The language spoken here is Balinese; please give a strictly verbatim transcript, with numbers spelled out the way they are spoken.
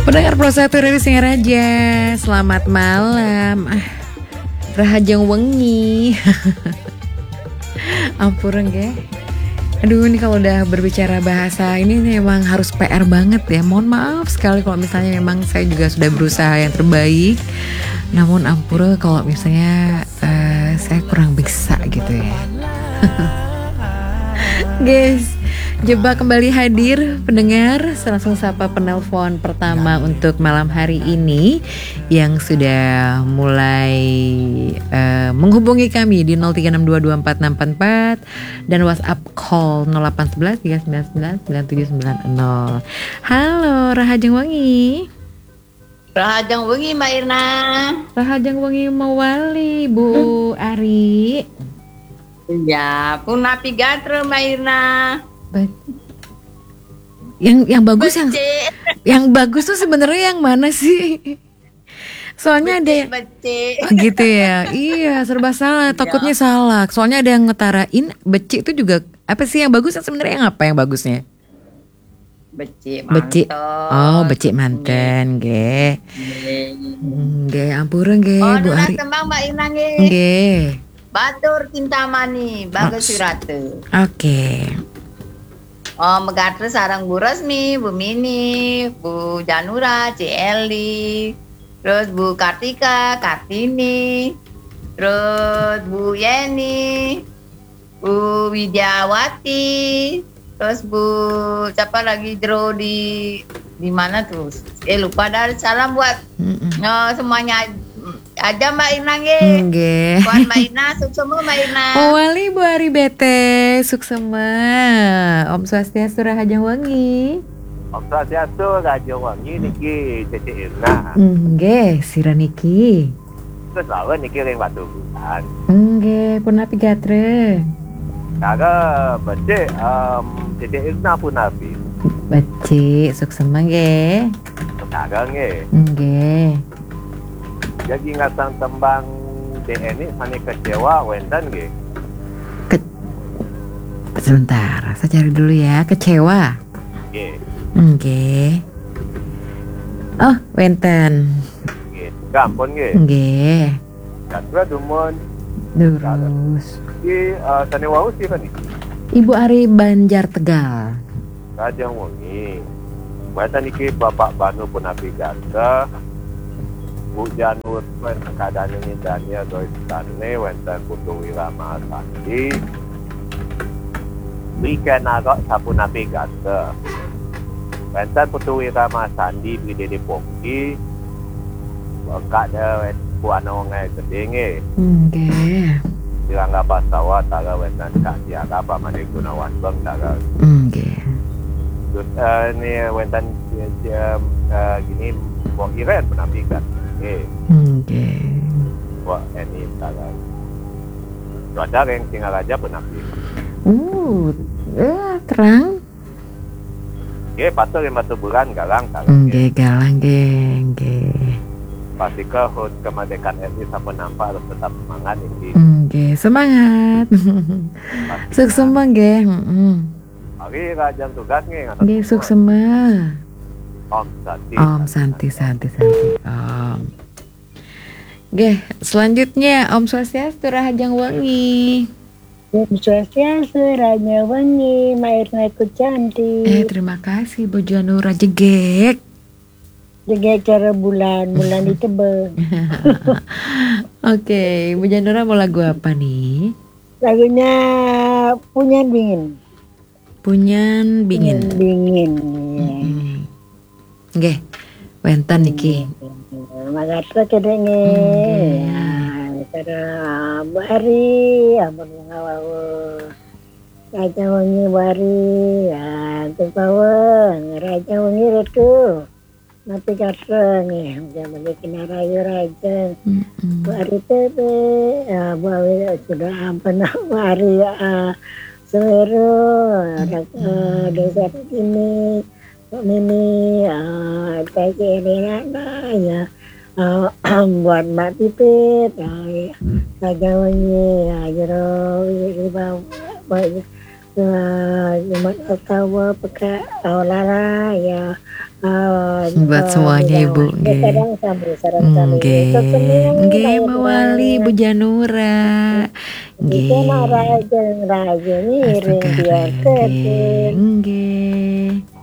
Pendengar Pro satu Radio Singaraja, selamat malam. Ah, rahajeng wengi. Ampura nggih. Aduh, ini kalau udah berbicara bahasa ini, ini emang harus P R banget ya. Mohon maaf sekali kalau misalnya memang saya juga sudah berusaha yang terbaik. Namun ampura kalau misalnya eh, saya kurang bisa gitu ya. Guys, Jebak kembali hadir, pendengar. Saya langsung sapa penelpon pertama untuk malam hari ini yang sudah mulai eh, menghubungi kami di nol tiga enam dua dua empat enam empat empat dan WhatsApp call nol delapan sebelas tiga sembilan sembilan sembilan tujuh sembilan nol. Halo, rahajeng wengi. Rahajeng wengi, Mbak Irna. Rahajeng wengi mawali, Bu Ari. Ya, punapi gatra, Mbak Irna. Ba- yang yang bagus yang Becik. Yang bagus tuh sebenarnya yang mana sih? Soalnya ada Becik, yang becik. Oh, gitu ya. Iya, serba salah. Iya. Takutnya salah. Soalnya ada yang ngetarain becik itu juga apa sih yang bagus? Sebenarnya yang apa yang bagusnya? Becik Becik. Manten. Oh, becik manten nggih. Nggih. Nggih, ampura nggih, oh, Bu Ari. Tembang Mbak Ina nggih. Nggih. Batur Cintamani, Bagus Wirata. Oke. Oh, megatra sareng Bu Resmi, Bu Mini, Bu Janura, Ci Eli, terus Bu Kartika, Kartini, terus Bu Yeni, Bu Widiawati, terus Bu siapa lagi Jero di di mana tuh? Eh, lupa dah. Salam buat Mm-mm. Oh, semuanya aja Mbak Ina nggih. Nggih. Buat Mbak Ina, suksema Mbak Ina. Mawali Bu Ari Bete, suksema. Om Swastiastu, rahajeng wengi. Om Swastiastu, rahajeng wengi niki Cece Irna. Nggih, sira niki? Terus lawan niki ring Batubulan. Nggih, punapi gatra? Cara becik, em, Cece Irna punapi? Becik, suksema nggih. Cara nggih. Nggih. Jagi ngasang tembang D N I sane kecewa wenten nggih. Ke- Sebentar, saya cari dulu ya. Kecewa. Nggih. Nggih. Oh, wenten. Nggih. Gampun nggih. Nggih. Gatra dumun. Durus. Di eh, sane wau sira niki? Ibu Ari Banjar Tegal. Rahajeng wengi. Wenten niki Bapak Banu punapi gatra. Bu Janur, wenten kadane Daniel Dois Stanley, wenten Putu Wira Mahasandi. Rika Narok sapunapi gatra. Wenten Putu Wira Mahasandi, Bri Dede Poki. Bengkak dia wet-, buana orang gede nggih. Nggih. Di Rangga Pasawa, tara wenten Kak Tiara, Pak Made Gunawan Beng, tara. Nggih. Terus eh, ni wenten eh, eh, gini, Mbok Iren punapi gatra. Nggih. Nggih. Mbok Eni, tara. Cuaca ring Singaraja punapi? Uh, eh, terang. Nggih, patut ring Batubulan, galang, galang. Nggih, galang, nggih, nggih. Pastika hut kemerdekaan R I sampun nampak, harus tetap semangat, nggih. Nggih, semangat. Suksema nggih, heeh. Hari rahajeng tugas nggih, ngatur. Nggih, suksema. Om Santi. Om Santi, Santi, Santi. Om. Nggih, selanjutnya Om Swastiastu, rahajeng wengi. Om Swastiastu, rahajeng wengi, Mbak Irna Kucanti. Eh, terima kasih Bu Janura, jegeg. Jegeg cara bulan, bulan di tebel. Oke, Bu Janura mau lagu apa nih? Lagunya Punyan Dingin. Punyan Bingin. Punyan Bingin, iya. Mm-mm. Nggih, wenten niki. Makasih, Cedek, nggih. Nggih. Ya, cara Bu Ari, ampun, ngawawu. Rahajeng wengi, Bu Ari, ya, terus mawon. Rahajeng wengi, Ratu. Napi kata nggih, jaman iki narayu rahajeng. Mm-mm. Bu Ari T V, ya, Bu Ari sudah ampun, Bu Ari, ah, Sumeru, ada, eh, Desa Ini, Pak Mimi, eh, T K Renana, ya, eh, buat Mbak Pipit, eh, ya, Raja Wengi, ya, Jero, Ibu, Ibu, ya, Jumat Ottawa, Peka, Aulara, ya, Ah, Buat ah, semuanya, Bunda Ibu, Wali. nggih. Sareng-sareng sami. Nggih, Tetep nggih, nggih, Mbak Wali, Bu Janura. Nggih, Mak Nggih. Raja, Raja ngiring Astagfirullah, biar nggih. Nggih.